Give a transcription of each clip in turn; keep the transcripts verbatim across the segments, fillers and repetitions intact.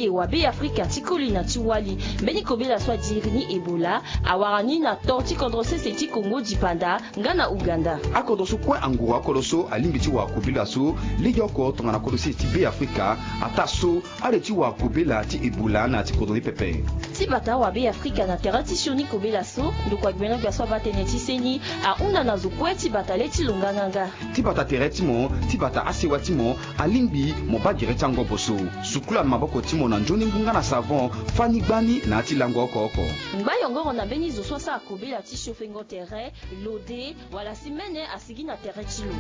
Wa Be Afrika ti koli na ti wali, mbeni kobela so adiri ni Ebola awara ni na to ti kodro sese ti Kongo dipanda nga na Uganda. Akodro so kue anguru akodro so alingbi ti wara kobela so legeoko tongana kodro sese ti Be Afrika, ataa so ale ti wara kobela ti Ebola na ya ti kodro ni pepe. Ti bata wa Be Afrika na tere ti sioni kobela so, ndokua gbenogbia so abaa tënë ti seni ahunda na zo kue ti bata le ti lo nganganga. Ti bata tere ti mo, ti bata asewa ti mo, alingbi mo baa gere ti angobo so. Sukula maboko ti mo na nzoni ngu nga na savon, fani gbani na ya ti lango oko oko. Ngba yongoro na mbeni zo so asara kobela ti siofengo tere, lode, wala si mene asigi na tere ti lo.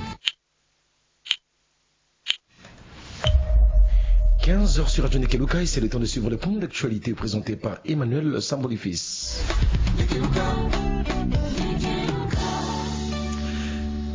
Quinze heures sur Radio Nekeluka et c'est le temps de suivre le point d'actualité présenté par Emmanuel Sambolifis.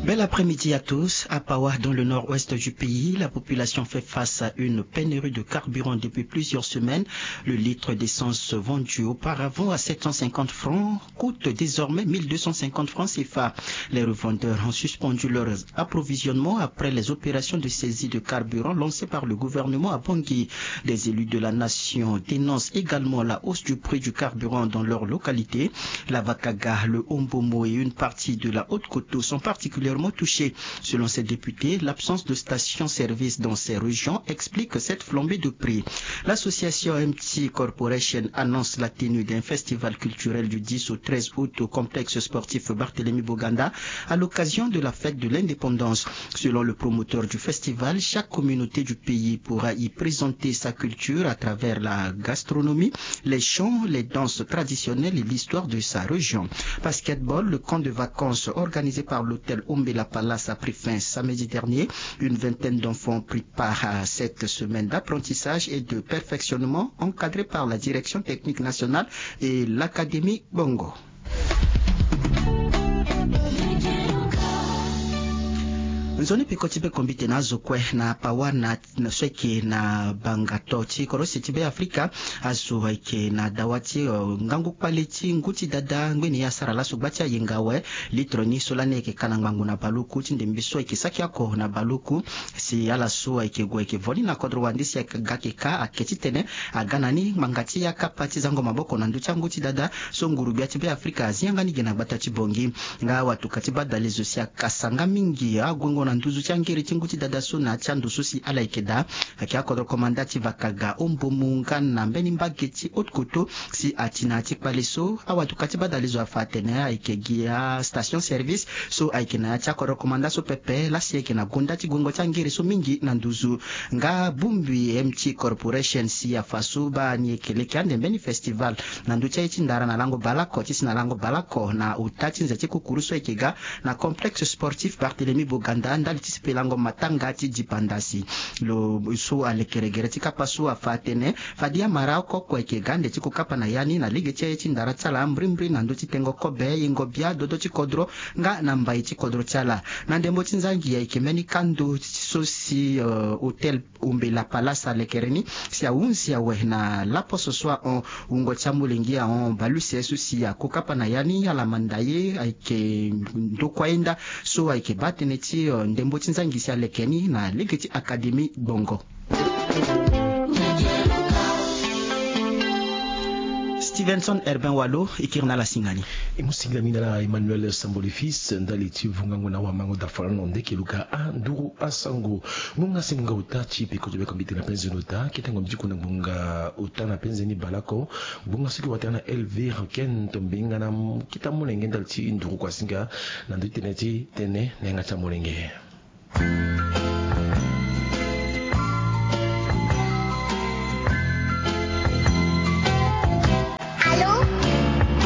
Bel après-midi à tous. À Pawa, dans le nord-ouest du pays, la population fait face à une pénurie de carburant depuis plusieurs semaines. Le litre d'essence vendu auparavant à sept cent cinquante francs coûte désormais mille deux cent cinquante francs C F A. Les revendeurs ont suspendu leur approvisionnement après les opérations de saisie de carburant lancées par le gouvernement à Bangui. Des élus de la nation dénoncent également la hausse du prix du carburant dans leur localité. La Vakaga, le Ombomo et une partie de la Haute-Koto sont particulièrement touchés. Selon ces députés, l'absence de station-service dans ces régions explique cette flambée de prix. L'association M T Corporation annonce la tenue d'un festival culturel du dix au treize août au complexe sportif Barthélemy Boganda à l'occasion de la fête de l'indépendance. Selon le promoteur du festival, chaque communauté du pays pourra y présenter sa culture à travers la gastronomie, les chants, les danses traditionnelles et l'histoire de sa région. Basketball, le camp de vacances organisé par l'hôtel Ombela Palace a pris fin samedi dernier. Une vingtaine d'enfants ont pris part à cette semaine d'apprentissage et de perfectionnement encadrée par la Direction technique nationale et l'Académie Bongo. Nzoni peko ti be kombite na azo kue na Pawa na so ayeke na bangato ti korosi ti Be Afrika. Azo ayeke na dawa ti ngangu kpale ti ngu ti dada ngbeni asara laso gba ti ayenga awe. Litre ni so lani ayeke ka na ngbangbu na baluku ti ndembe so ayeke saki oko na baluku. Si ala so ayeke gue ayeke vo ni na kodro wande si aga ayeke ka ake titene aga na ni ngbanga ti akapa ti zango maboko na ndö ti angu ti dada so nguru-gbia ti Be Afrika azi yanga ni ge na gbata ti Bongi. Nga awatuka ti badalezo si akasa nga mingi aguengo na nduzu ti angere ti ngu ti dada so na ya ti ando so si ala yeke daa. Ayeke akodro komanda ti Vakaga, Ombomu nga na mbeni mbage ti Haute-Koto si ati na ya ti kpale so. Awatuka ti badalezo afa atene ayeke gi astation service so ayeke na ya ti akodro komanda so pepe lasi ayeke na gonda ti guengo ti angere so mingi na nduzu. Nga bongbi M T Corporation si afa so baa ni ayeke leke ande mbeni festival na ndö ti aye ti ndara na lango baleoko ti si na lango baleoko na ota ti nze ti kukuru so ayeke ga na complexe sportif Barthélemy Boganda ndali ti sipelango matanga ti dipanda si. Lo so alekere gere ti kapa so afa atene fade amara oko oko ayeke ga ande ti kokapa na ya ni na lege ti aye ti ndara ti ala mbrimbri na ndö ti tengo kobe yengo bia dodo ti kodro nga na mbai ti kodro ti ala. Na ndembo ti nzangi ayeke mbeni kando so si hôtel Ombela Palace alekere ni si ahunzi awe na laposo so ahon wungo ti amolenge ahon baleuse so si akokapa na ya ni ala manda ye ayeke ndokua yenda so ayeke baa tënë ti ndembo ti nzangi si aleke ni na lege ti Académie Gbongo. Stevenson Herbin Walo e kiri na ala singa ni. E mu singila mingi na ala Emmanuel Sambole Fils ndali ti vungango na wamango dafa lani na ndeke luka anduru asango. Ngonga si ngonga ota ti peko ti beko mbeti na penze na ota ketengo mbi ti ku na ngonga ota na penze ni baleoko. Ngonga so ki wata na Elvire Ken to mbinga na kita molenge ndali ti nduru kua singa na ndö ti tënë ti tënë na yanga ti amolenge.